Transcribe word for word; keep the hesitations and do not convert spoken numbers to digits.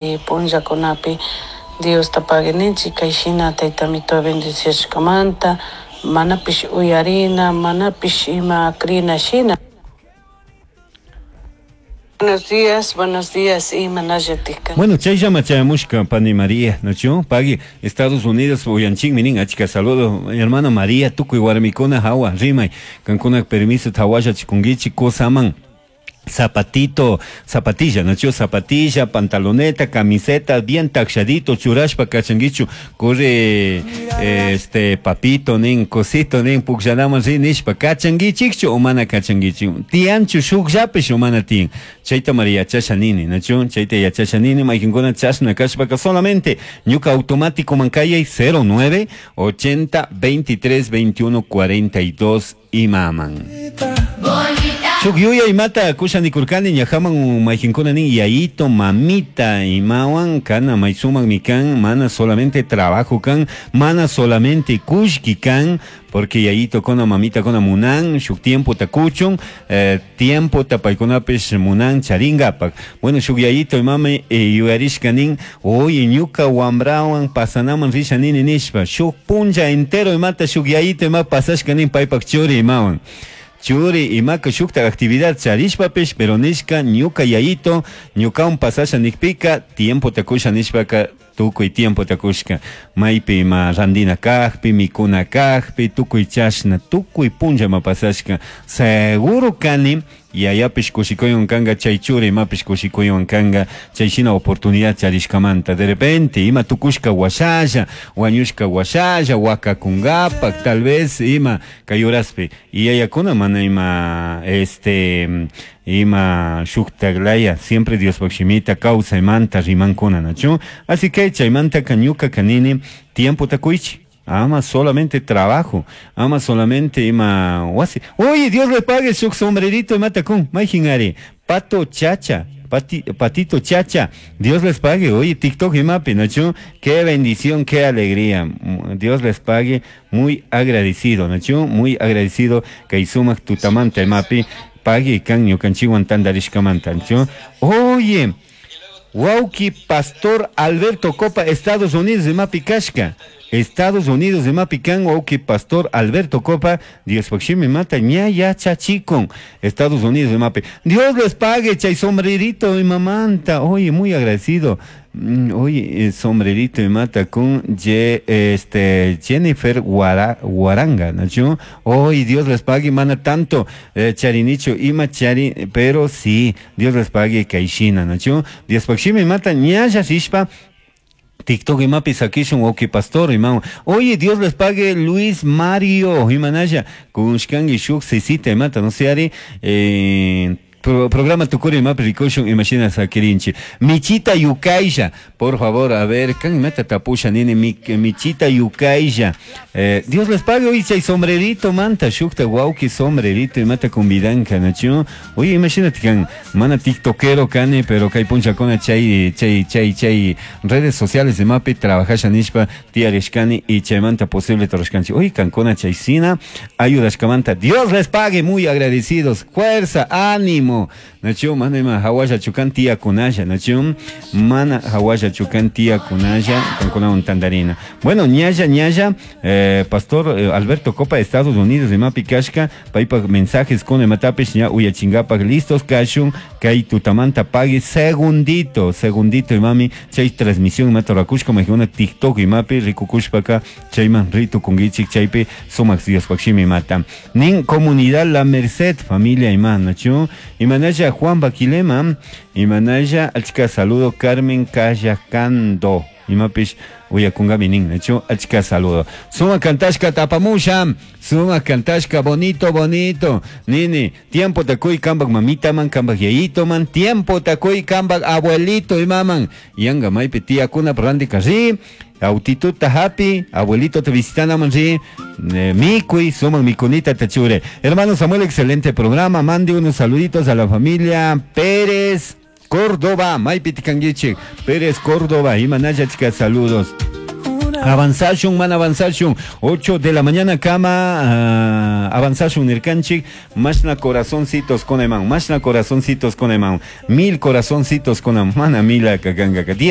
Punllakunapi Diosta pagui ninchik kayshina tayta amito bendiciashkamanta manapish uyarina, manapish ima crina shina. Buenos días, buenos días, imanallatik. Bueno, chayllama chayamushka pani María, ¿no? Pagui, Estados Unidos uyanchikmi nin, achka saludo, hermana María, tukuy warmikuna hawa, rimay, kankuna permiso hawalla chikunkichik kusaman. Zapatito, zapatilla, ¿no? Zapatilla, pantaloneta, camiseta, bien taxadito, churashpa kachanguichu, corre, este, papito, nin, cosito, nin, pukllanaman rin nishpa, kachanguichikchu o mana kachanguichik, tianchu shukllapish o mana tiyan. Chayta María yachasha nini, ¿no? Chayta yachasha nini, mayqinkuna chashna kashpaka solamente, ñuka automático mankayay cero nueve ochenta veintitrés veintiuno cuarenta y dos imaman. Shuk yuyay imata kushanikurkani ñajaman mayqinkuna nin yayito mamita imawan kana may sumakmi kan, mana solamente trabajo kan, mana solamente kullki kan, porque yayito kuna mamita kuna munan shuk tiempo ta kuchun, eh, tiempo ta paykunapish munan charingapak. Bueno, shuk yayito imami eh, yuyarishka nin, oye, ñuka wambrawan pasanaman risha nini nishpa, shuk punlla entero imata shuk yayito ima pasashka nin paypak churi imawan. Churi imaka shukta actividad charishpapish, pero nishka ñuka yayito ñukawan pasasha nikpika tiempo takusha nishpaka tukuy tiempo takushka, maypi ima randina kajpi, mikuna kajpi, tukuy chashna tukuy punlla ima pasashka. Seguro kani yayapish kushikuywan kanga, chay churi imapish kushikuywan kanga chay shina oportunidad charishkamanta. De repente ima tukushka washalla, wañushka washalla, wakakungapak tal vez ima kay horaspi y yayakuna mana ima este ima shuktaglaya siempre Diospaj shimita kawsaymanta rimankuna, nachu? Así que chaymantaka ñuka kanini tiempo takuychi, ama solamente trabajo, ama solamente ima wasi. Oye, Dios le pague shuk sombrerito imata kun, mayjin ari, Pato Chacha, Pati, Patito Chacha, Dios les pague. Oye, TikTok imapi, ¿nachu? Qué bendición, qué alegría. Dios les pague, muy agradecido, ¿nachu? Muy agradecido, kay sumak tutamanta imapi, pague kan ñukanchikwan tandarishkamanta, ¿nachu? Oye, wawki Pastor Alberto Copa, Estados Unidos imapi kashka. Estados Unidos imapi kan wawki Pastor Alberto Copa, Diospaj shimi mata ña yachachikun. Estados Unidos imapi. Dios les pague, chay sombrerito imamanta. Oye, muy agradecido. Mm, oye, el sombrerito imata con Ye, este, Jennifer Guara, Guaranga, ¿no? Oye, Dios les pague, mana tanto, eh, charinicho, ima chari, pero sí, Dios les pague kayshina, ¿no? Diospaj shimi mata ñalla rishpa, TikTok imapi sakishun wawki pastor imawan. Oye, Dios les pague, Luis Mario imanalla kushkangi shuk sisita imata, no sé ari, eh, pro, programa tukuri imapi rikushun imashina sakirinchi. Michita Yukaisha, por favor, a ver, kan imata tapusha nini mi, Michita Yukaisha. Eh, Dios les pague hoy chay sombrerito manta shukta wawki sombrerito imata convidanka, nachu? Oye, imagínate kan mana tiktokero kani, pero kay punchakuna chay chay chay chay redes sociales imapi trabajasha nishpa tiyarishkani y chaymanta posible torashkanchi. Oye, kankuna chaysina ayudashkamanta. Dios les pague, muy agradecidos. Fuerza, ánimo. Nachu, mana ima hawalla chukan tiyakunalla, nachu? Mana hawalla chukan tiyakunalla, kankunawan tandarina. Bueno, ñalla, ñalla, eh, Pastor eh, Alberto Copa de Estados Unidos imapi kashka, paypak mensajes con imatapish ña uyachingapak listos kashun, kay tutamanta pague segundito, segundito imami, chay transmisión imata rakushka, majuna TikTok imapi, rikukushpaka, chayman ritukunkichik chaypi, sumak Diospaj shimi mata. Nin comunidad La Merced, familia ima, nachu? Imanalla Juan Baquilema, imanalla achka saludo Carmen Cayacando. Imapish uyakungami nin, nachu? Achka saludo. Suma kantashka tapamusha, suma kantashka bonito, bonito. Nini, tiempo takuy kambak mamita man, kambak yayito man, tiempo takuy kambak abuelito imaman. Yanga maypi tiyakuna randika ri, autituta hapi, abuelito te visitana ri, eh, mikuy, suman mikunita tachure. Hermano Samuel, excelente programa, mande unos saluditos a la familia Pérez Córdoba, maypi tikanguichik, Pérez Córdoba, imanalla achka saludos. Avanzashun, mana avanzashun. ocho de la mañana kama uh, avanzashun nirkanchik. Mashna corazoncitos con eman. Mashna corazoncitos con eman. Mil corazoncitos con mana mila kaganga. Diez